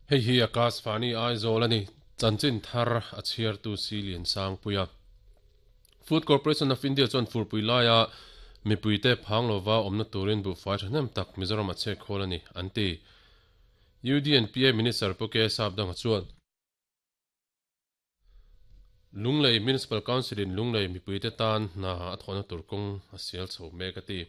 Hei hi Akashvani Aizawl a ni. Chanchin thar a chhiartu si Liansangpuia. Food Corporation of India chuan furpui laia mipuite phang lova awmna turin buhfai thahnem tak Mizoram a chhek khawl a ni, an ti. UDNPA Minister Pu K Sapdanga chuan, Lunglei Municipal Council in Lunglei mipuite tan hna a thawhna tur kawng a sial chho mek a ti.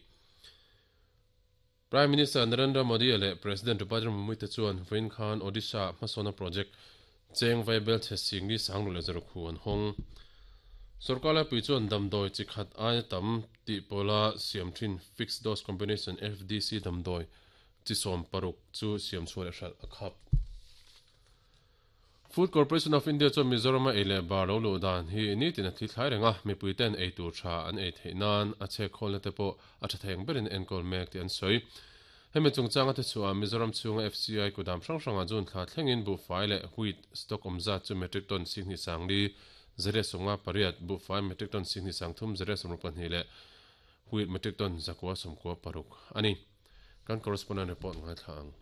Prime Minister Narendra Modi leh President Draupadi Murmu te chuan vawiin khan Odisha ah hmasawnna project cheng vaibel chhe singli sanglu leh zarukhu an hawng. Sorkar laipui chuan damdawi chi khat aia tam tih pawla siam thin Fixed Dose Combination, FDC, damdawi chi 16 chu siam chhuah leh hralh a khap. Food Corporation of India chuan Mizoram-a ei leh bar lo luh dan hi nitin a thli thlai reng a, mipuite'n ei tur tha an ei theih nan a chhek khawlna te pawh a tha thei ang berin enkawl mek tih an sawi. Hemi chungchanga te chhuah Mizoram chhunga FCI kudam hrang hrangah June thla thlengin buhfai leh wheat stock awm zat chu metric ton singhnih sangli zariat sawmnga pariat, buhfai metric ton singhnih sangthum zariat sawmruk pahnih leh wheat metric ton zakua sawmkua paruk a ni. Kan correspondent report ngaithla ang.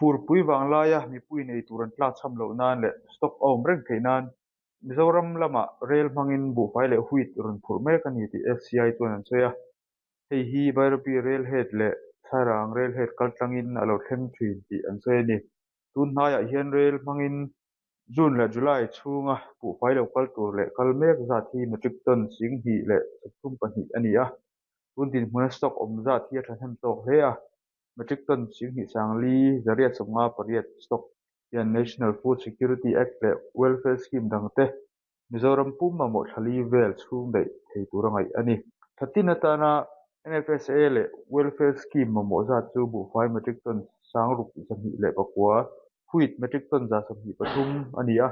Furpui vanglaia mipui nei tur an tlakchham loh nan leh stock a awm reng theih nan Mizoram lamah rel hmangin buhfai leh wheat rawn phurh mek a ni tih FCI chuan an sawi a. Hei hi Bairabi Rail Head leh Sairang Rail Head kaltlangin a lo thleng thin tih an sawi a ni. Tun hnaiah hian rel hmangin June leh July chhunga buhfai lo kal tur leh kal mek zat hi metric ton 2032 a ni a. Tun dinhmuna stock awm zat hi a thahnem tawk hle a. Metric ton 2458 stock hian National Food Security Act leh Welfare Scheme dangte Mizoram pum mamawh thlali vel chhung daih thei tura ngaih a ni. Thatin atana NFSA leh Welfare Scheme mamawh zat chu buhfai metric ton 6209, wheat metric ton 123 a ni a.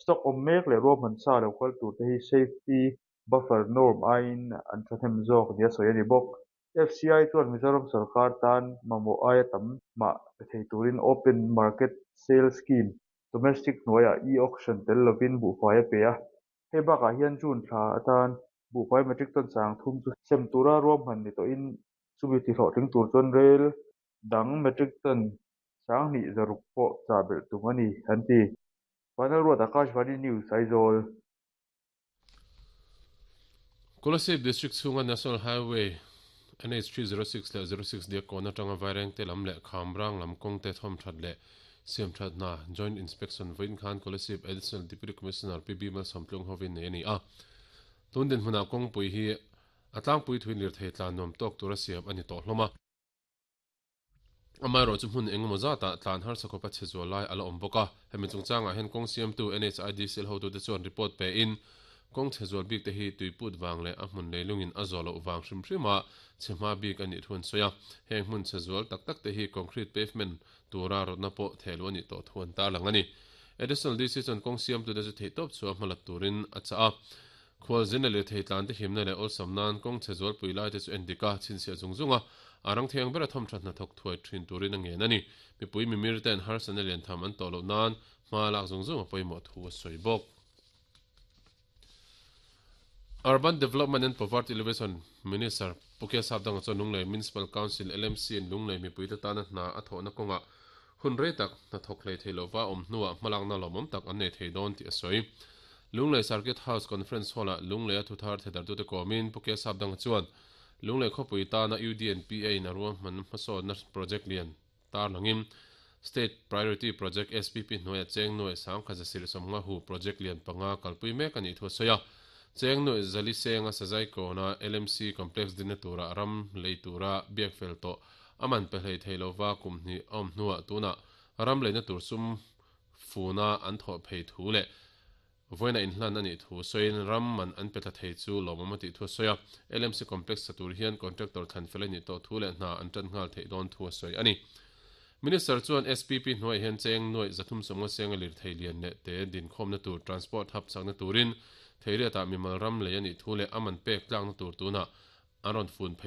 Stock awm mek leh ruahman sa lo kal turte hi safety buffer norm aiin an thahnem zawk nia sawi a ni bawk. FCI chuan Mizoram sorkar tan mamawh aia tam mah pe thei turin Open Market Sale Scheme, Domestic hnuaiah e-auction tel lovin buhfai a pe a. Hei bakah hian June thla atan buhfai metric ton 3000 chu sem tura ruahman ni tawhin chumi tihlawhtling tur chuan rel dang metric ton 2600 pawh chah belh tum a ni, an ti. Vanlalruat Akashvani News, Aizawl. Kolasib District chhunga National Highway NH 306 leh 06 Diakkawn atanga Vairengte lam leh Khamrang lam kawngte thawmthat leh siamthat hna Joint Inspection vawiin khan Kolasib Additional Deputy Commissioner PB Malsawmtlung hovin nei a ni a. Tun dinhmunah kawngpui hi a tlangpui thuin lirthei tlan nuam tawk tura siam a ni tawh hlawm a. Amaherawh chu hmun engemaw zatah tlan harsa khawpa chhe zual lai a la awm bawk a. Hemi chungchangah hian kawng siamtu NHIDCL hotute chuan report pein, kawng chhe zual bikte hi tuiput vang leh a hmun leilungin a zawh loh vang hrim hrima chhe hma bik a nih thu an sawi a. Heng hmun chhe zual tak takte hi concrete pavement tura rawtna pawh thehluh a nih tawh thu an tarlang a ni. Additional DC chuan kawng siamtute chu theihtawp chhuah hmalat turin a chah a. Khualzin leh lirthei tlante himna leh awlsam nan kawng chhe zualpui laite chu en dik a, chhinchhiah zung zung a, a rang thiang bera thawm tha hnathawk thuai thin turin a ngen a ni. Mipui mimir ten harsatna lian tham an tawh loh nan hma lak zung zung a pawimawh thu a sawi bawk. Urban Development and Poverty Alleviation Minister Pu Kia Sapdanga chuan Lunglei Municipal Council, LMC, in Lunglei mipuite tana hna a thawhna kawngah Hun rei tak hnathawk hlei thei lova awm hnuah hmalakna lawmawm tak an nei thei dawn tih a sawi. Lunglei Circuit House Conference Hall-ah Lungleia thuthar thedartute kawmin Pu Ke Sapdanga chuan Lunglei khawpui tana UDNPA in a ruahman hmasawnna project lian tarlangin State Priority Project SPP hnuaia cheng nuaih sangkhat zasirh sawmnga hu project lian panga kalpui mek a nih thu a sawi a. Cheng nuaih zali senga Sazai kawna LMC Complex dinna tura ram lei tura biak fel tawh A man pe hlei thei lova kum hnih a awm hnuah tunah ram leina tur sum funa an thawh phei thu leh vawiina inhlan a nih thu sawiin ram man an pe tla thei chu lawmawm a tih thu a sawi a. LMC Complex sa tur hian contractor thlan fel a nih tawh thu leh hna an tan nghal theih dawn thu a sawi a ni. Minister chuan SPP hnuaiah hian cheng nuaih 350 senga lirthei lian leh te dinkhawmna tur transport hub chakna turin Theiriatah mimal ram lei a nih thu leh a man pek tlakna tur tunah an rawn fun phei.